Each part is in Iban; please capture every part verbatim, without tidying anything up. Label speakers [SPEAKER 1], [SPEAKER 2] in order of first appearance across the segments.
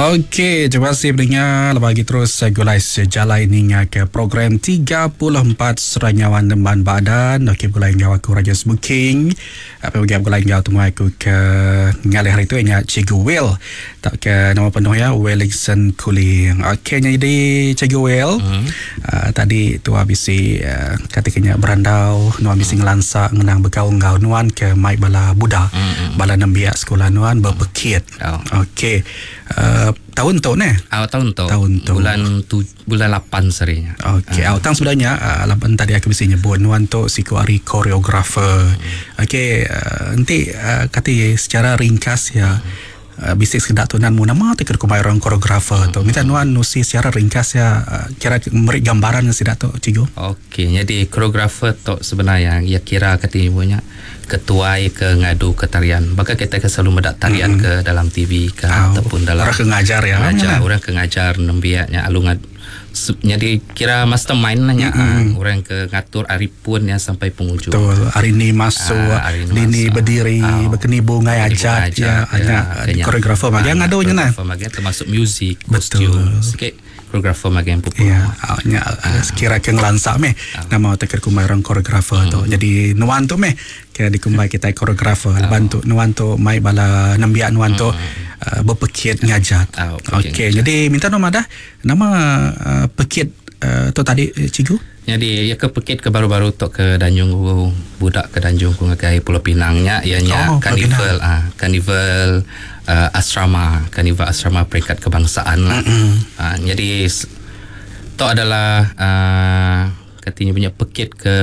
[SPEAKER 1] Okey, terima kasih pendengar. Bagi terus gulai sejalai ninga ke program tiga puluh empat Seranyawan Nemban Badan. Okey, gulai ngau aku Raja Smoking. Apa bagi gulai ngau temuai aku ke ngalih hari tu ingat Cikgu Will. Tak ke nama penuh ya Wellington Kuling. Okey, jadi Cikgu Will. Hmm. Uh, tadi tu habis si uh, katikanya berandau, nuan bisi ngelansa ngenang bekau ngau nuan ke mai bala Buddha. Hmm. Bala nembiak sekolah nuan berpekit.
[SPEAKER 2] Oh.
[SPEAKER 1] Okey. Uh, tahun tu ne?
[SPEAKER 2] Ah, tahun tu.
[SPEAKER 1] Tahun tu.
[SPEAKER 2] Bulan tu, bulan lapan serinya.
[SPEAKER 1] Okey, uh. tang sebenarnya uh, lapan tadi aku mesti nyebut nuan tu siku ari koreografer. Hmm. Okey, uh, nanti uh, kata secara ringkas ya. Hmm. Uh, bisik sekedak tu nan mu nama tu kira kumai orang koreografer hmm. tu. Minta nuan nusi secara ringkas ya, uh, kira meri gambaran sidak tu cikgu.
[SPEAKER 2] Okey, jadi koreografer tu sebenarnya ya kira kata ibunya ketuai ke ngadu ke tarian. Bahkan kita ke selalu medak tarian hmm. ke dalam T V ke
[SPEAKER 1] oh,
[SPEAKER 2] ataupun dalam
[SPEAKER 1] orang ke ngajar ya.
[SPEAKER 2] Ngajar, orang ke ngajar nembiaknya alu ngad, jadi kira mastermind lah nya
[SPEAKER 1] mm-hmm.
[SPEAKER 2] orang ke ngatur ari pun ya sampai penghujung.
[SPEAKER 1] Betul, hari ni masuk,
[SPEAKER 2] ah, hari
[SPEAKER 1] ni
[SPEAKER 2] masuk.
[SPEAKER 1] Berdiri,
[SPEAKER 2] oh.
[SPEAKER 1] berkeni bungai ajat ya,
[SPEAKER 2] ya,
[SPEAKER 1] ya koreografer bagian ngadunya nah.
[SPEAKER 2] Koreografer bagian termasuk muzik, kostum, sikit koreografer bagian pupuk.
[SPEAKER 1] Ya, nya kira ke ngelansak meh nama teker kumai orang koreografer tu. Jadi nuan tu meh kira dikumbai kita koreografer. Bantu nuan tu mai bala nembiak nuan tu Uh, berpekit ngajat.
[SPEAKER 2] Oh,
[SPEAKER 1] Okey, jadi minta nama dah nama uh, pekit uh, tu tadi cikgu.
[SPEAKER 2] Jadi ya ke pekit ke baru-baru tu ke Danjung budak ke Danjung ku ngagai Pulau Pinangnya ianya
[SPEAKER 1] oh,
[SPEAKER 2] karnival ah karnival uh, asrama, karnival asrama peringkat kebangsaan lah. Uh, jadi tu adalah uh, katanya punya pekit ke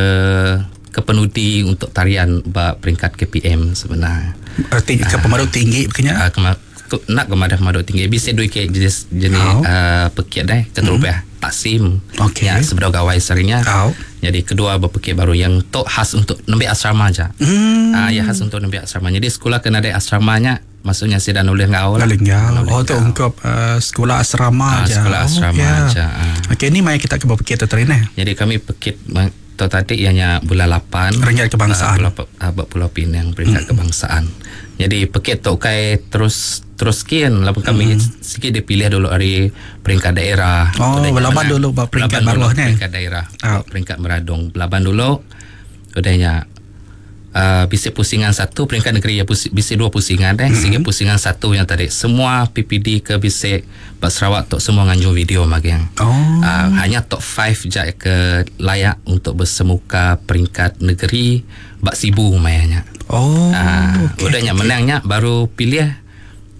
[SPEAKER 2] ke penudi untuk tarian ba peringkat K P M sebenarnya.
[SPEAKER 1] Erti ke pemaru tinggi bekenya.
[SPEAKER 2] Uh, kema- nak kemadah maduk tinggi bisa dua ke jenis jenis
[SPEAKER 1] oh.
[SPEAKER 2] uh, pekit deh keterubah
[SPEAKER 1] mm.
[SPEAKER 2] taksim
[SPEAKER 1] okay.
[SPEAKER 2] Ya sebelah gawai seringnya
[SPEAKER 1] oh.
[SPEAKER 2] Jadi kedua berpekit baru yang tok khas untuk nembiak asrama aja.
[SPEAKER 1] mm.
[SPEAKER 2] Uh, ya khas untuk nembiak asrama. Jadi sekolah kena ada asramanya, maksudnya sih dan oleh ngau lah.
[SPEAKER 1] Oh tu untuk uh, sekolah asrama
[SPEAKER 2] uh,
[SPEAKER 1] aja.
[SPEAKER 2] Sekolah asrama
[SPEAKER 1] oh, yeah.
[SPEAKER 2] aja. Uh.
[SPEAKER 1] Okey, ni mai kita ke berpekit tu ni.
[SPEAKER 2] Jadi kami pekit tu tadi ianya bulan lapan
[SPEAKER 1] peringkat kebangsaan.
[SPEAKER 2] Uh, Pulau, uh, Pulau Pinang peringkat
[SPEAKER 1] mm.
[SPEAKER 2] kebangsaan. Jadi pekit tu kai terus terus kian lah kami
[SPEAKER 1] mm.
[SPEAKER 2] sikit dipilih dulu hari peringkat daerah.
[SPEAKER 1] Oh, belaban dulu bab peringkat baruh ni.
[SPEAKER 2] Peringkat daerah.
[SPEAKER 1] Oh.
[SPEAKER 2] Peringkat Meradong belaban dulu. Udahnya uh, bisik pusingan satu peringkat negeri ya pusing, bisik dua pusingan deh.
[SPEAKER 1] Mm-hmm.
[SPEAKER 2] Sehingga pusingan satu yang tadi semua P P D ke bisik bab Sarawak tok semua nganjung video magiang.
[SPEAKER 1] Oh.
[SPEAKER 2] Uh, hanya top five je ke layak untuk bersemuka peringkat negeri bab Sibu mayanya.
[SPEAKER 1] Oh.
[SPEAKER 2] Uh,
[SPEAKER 1] okay,
[SPEAKER 2] udahnya
[SPEAKER 1] okay.
[SPEAKER 2] Menangnya baru pilih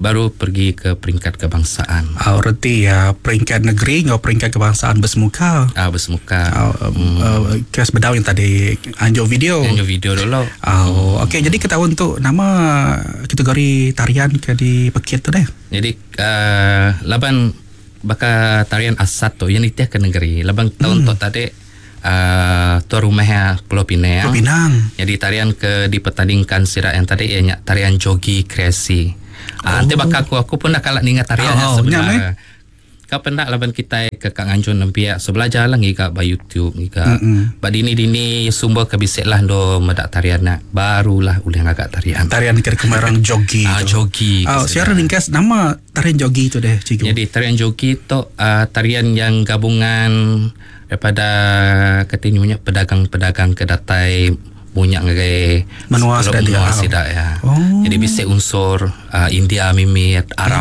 [SPEAKER 2] baru pergi ke peringkat kebangsaan.
[SPEAKER 1] Ah, reti ya peringkat negeri ngau peringkat kebangsaan bersemuka.
[SPEAKER 2] Ah, bersemuka.
[SPEAKER 1] Ah, hmm. uh, kes bedau yang tadi anjo video.
[SPEAKER 2] Anjo video dulu.
[SPEAKER 1] Oh, hmm. Okey, jadi kita untuk nama kategori tarian ke di pekit tu deh.
[SPEAKER 2] Jadi uh, laban bakal tarian asat tu yang nitiah ke negeri. Laban tahun
[SPEAKER 1] hmm.
[SPEAKER 2] tu tadi Uh, tuan rumahnya Pulau Pinang.
[SPEAKER 1] Pulau Pinang.
[SPEAKER 2] Jadi tarian ke dipertandingkan sirak yang tadi ianya tarian jogi kreasi.
[SPEAKER 1] Oh.
[SPEAKER 2] Ah, nanti bakal aku aku pun nak kalak ninga tarian
[SPEAKER 1] oh,
[SPEAKER 2] sebenarnya. Kau pendak laban kita ke Kak Nganjun nempiak so belajar lah ngiga ba YouTube ngiga.
[SPEAKER 1] Mm-mm.
[SPEAKER 2] Ba dini dini sumber kebisik lah do medak tarian nak barulah ulih ngagak tarian.
[SPEAKER 1] Tarian ke kemarang jogi.
[SPEAKER 2] Ah, jogi.
[SPEAKER 1] Oh, siara ringkas nama tarian jogi tu deh cikgu.
[SPEAKER 2] Jadi tarian jogi tu uh, tarian yang gabungan daripada katanya pedagang-pedagang ke datai munyak ngagai
[SPEAKER 1] menua
[SPEAKER 2] menua sidak ya.
[SPEAKER 1] Oh.
[SPEAKER 2] Jadi bisa unsur uh, India mimit Arab